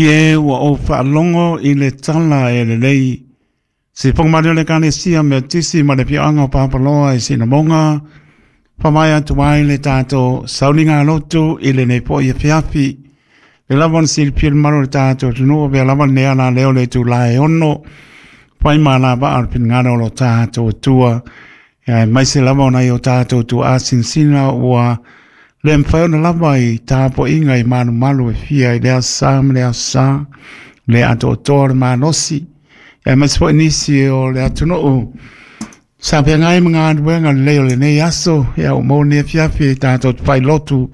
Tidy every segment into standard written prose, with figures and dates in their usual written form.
E ua ou faalogo i le tala e lelei. Se whangamari o le Ekalesia Metotisi ma le afioaga o Papaloa i Sinamoga, faamaea atu ai le tatou sauniga lotu i lenei foi afiafi. Le lava ona silafia le mamalu o le tatou atunuu, avea lava lenei ala lea o le itula e 6, fai ma alavaa o le finagalo o lo tatou Atua. Aemaise lava o nai o tatou tuaa sinasina ua le mafai ona lava i tapuaiga i malumalu e fia i le aso sa ma le aso sa, le atoatoa o le malosi, aemaise foi nisi o le atunuu sa feagai ma galuega lelei o lenei aso, ia ua maua lenei afiafi e tatou te failotu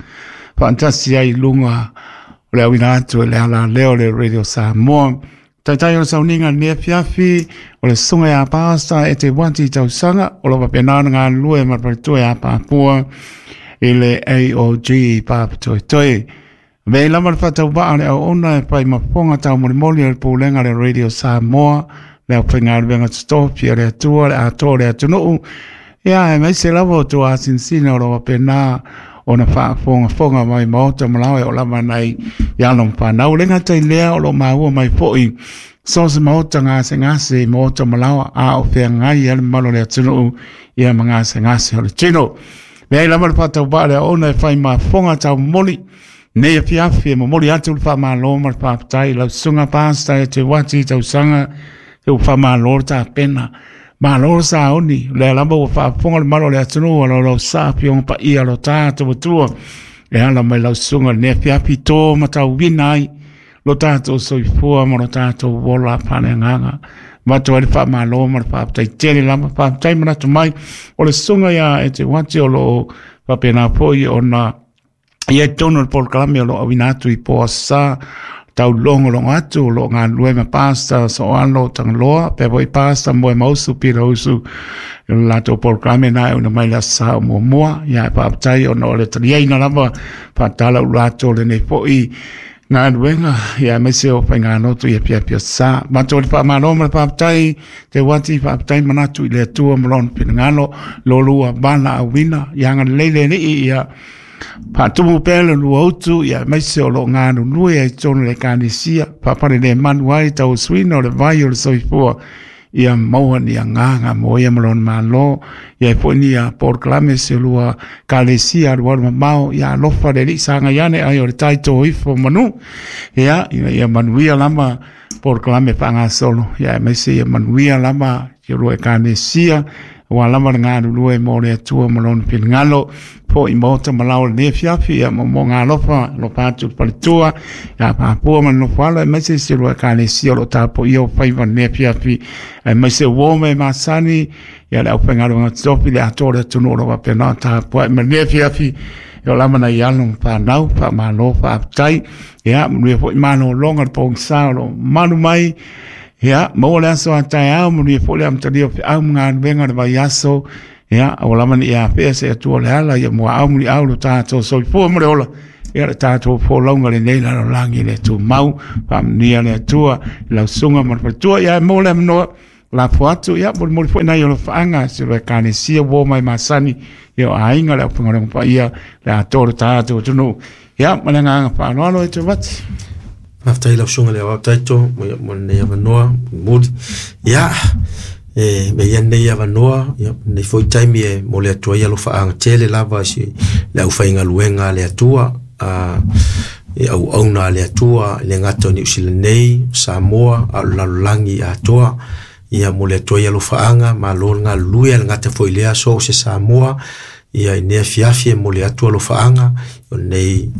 faatasi ai i luga o le auina atu e le ala lea o le Radio Samoa. Taitai o le sauniga i lenei afiafi, o le susuga ia Pasta e te wati tausaga, o lo o faapena ona galulue ma le faletua ia Papua i le AOG Papatoetoe. Avea lava le faatauvaa o le auauna e fai ma fofoga taumolimoli o le pulega o le Radio Samoa, le aufaigaluega totofi a le Atua, le atoa o le atunuu, ia aemaise lava o tuasinasina o lo o faapena ona faafogafoga mai maota ma laoe o lava nai i alo ma fanau. Le gata i lea o lo o maua mai foi so se maota gasegase i maota ma laoa a o feagai ai le mamalu o le atunuu ia ma gasegase o le tino. Leai lava le faatauvaa le auauna e fai ma fofoga taumoli nei afiafi e momoli atu le faamalo ma le faafetai i lau susuga Pastor e te wati tausaga e ua faamalo le tapena. Malo le sauni, o lea lava ua faafofoga le mamalu o le atunuu o lau sa afioga paia lo tatou Atua e ala mai lau susuga i lenei afiafi tō matauina ai lo tatou soifua ma lo tatou ola faaleagaga. Avatu ai le faamalo ma le faafetai tele lava, faafetai manatu mai o le susuga ia e te wati o lo o faapena foi ona ia i totonu o le polokalame o lo o auina atu i po aso sa, taulogologo atu o lo o galulue ma Pastor Soalo Tagaloa, pea foi Pastor Moemausu Pirausu i le latou polokalame na e auina mai le aso sa o muamua. Ia e faafetai ona o le taliaina lava faatala ulu atu o lenei foi galuega, ia aemaise o faigalotu i afiafi aso sa. Matou le faamalo ma le faafetai te wati, faafetai manatu i le Atua ma lona finagalo, lo lua valaauina, ia agalelei le Alii ia faatumu pea le lua utu, ia aemaise o lo o galulue ai i totonu o le Ekalesia, faafalelemalu ai tauasuina o le vai o le soifua, ia maua ni agaga mo ia ma lona Malo, ia ai foi ni polokalame se lua Ekalesia alualu mamao, ia alofa le Alii sagai ane ai o le tai tō ifo manu, ia ina ia manuia lava polokalame faagasolo, ia aemaise ia manuia lava si o lua Ekalesia, aua lava le galulue mo le Atua ma lona finagalo, foi maota ma lao lenei afiafi, ia momoga alofa, alofa atu le faletua, ia Papua ma le nofoalo, aemaise si o lua Ekalesia o lo o tapuaia o faiva lenei afiafi, aemaise uo me masani, ia le aufaigaluega totofi, le atoa o le atunuu o lo o faapena ona tapuai ma lenei afiafi, ia o lava nai alo ma fanau, faamalo, faafetai, ia manuia foi malologa le pogisa o lo o malu mai, ia maua le aso a taeao, manuia foi le amatalia o feau ma galuega o le vaiaso, ia aua lava ne i afea se Atua o le ala, ia muaau muliau lo tatou soifua ma le ola, ia le tatou folauga lenei lalolagi le tumau, faamanuia le Atua i lau susuga ma le faletua, ia e maua le avanoa lafo atu, ia molimoli foi nai alofaaga se lo Ekalesia ua mai masani, ia o aiga le aufaigaluega paia le atoa o le tatou atunuu. Ia ma le agaga faaaloalo e te wati. Faafetai lau susuga i le Aoao Taito mo lenei avanoa mulimuli. Ia, e mea ia lenei avanoa, ia, lenei foi taimi e momoli atu ai alofaaga tele lava i si le aufaigaluega a le Atua, a i auauna a le Atua, e le gata o Niu Sila nei, Samoa, a o le lalolagi atoa. Ia momoli atu ai alofaaga, malo le galulue, a le gata foi i lea, so o se Samoa, ia i nei afiafi e momoli atu alofaaga, o lenei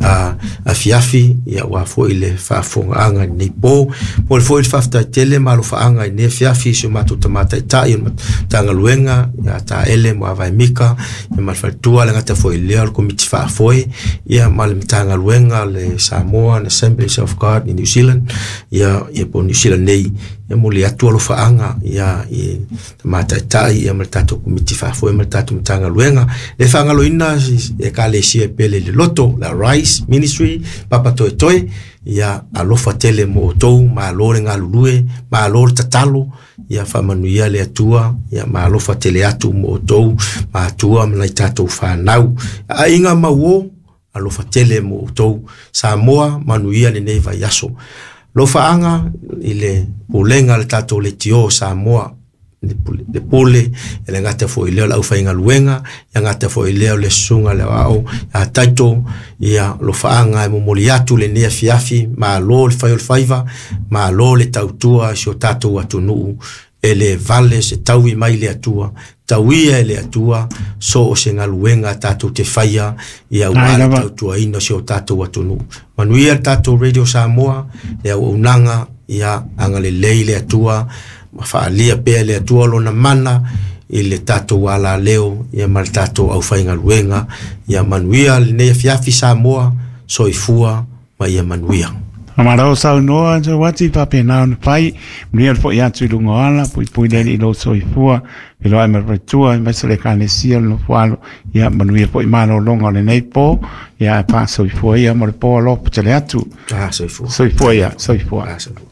afiafi, ia aua foi le faafofogaaga i lenei po. Momoli foi le faafetai tele ma alofaaga i lenei afiafi i si o matou tama taitai o le Matagaluega, ia Taele Muavae Mika, ia ma le faletua, le gata foi i lea o le Komiti Faafoe, ia ma le Matagaluega le Samoa Assemblies of God in New Zealand, ia, ia po o Niu Sila nei, ia momoli atu alofaaga ia i tama taitai ia ma le tatou Komiti Faafoe ma le tatou Matagaluega. Le faagaloina Ekalesia e pele i le loto, le Arise Ministry, Papa Toetoe, ia alofa tele mo outou, malo le galulue, malo le tatalo, ia faamanuia le Atua, ia ma alofa tele atu mo outou, matua ma nai tatou fanau. Aiga mauo, alofa tele mo outou. Samoa, manuia lenei vaiaso. Lofaaga i le pulega a le tatou leitio o Samoa, le pule, e le gata foi i lea o le aufaigaluega, e gata foi i lea o le susuga i le aoao ia Taito, ia lofaaga e momoli atu lenei afiafi, malo le fai o le faiva, malo le tautua i si o tatou atunuu, e le vale se taui mai le Atua, tauia e le Atua, so o se galuega tatou te faia, ia aua le tautuaina o si o tatou atunuu. Manuia le tatou Radio Samoa, le auaunaga, ia agalelei le Atua, ma faaalia pea e le Atua lona mana i le tatou alaleo, ia ma le tatou aufaigaluega, ia manuia lenei afiafi Samoa, soifua ma ia manuia. Faamalo saunoa Joati faapena ona fai, manuia le foi atu i luga o ala, puipui le Alii i lou soifua, feiloai ma le faletua aemaise le Ekalesia o le Nofoalo, ia manuia foi malologa o lenei po, ia ae faasoifua ia mo le po alofa tele atu. Ah, soifua. Soifua ia, soifua. Ah, soifua.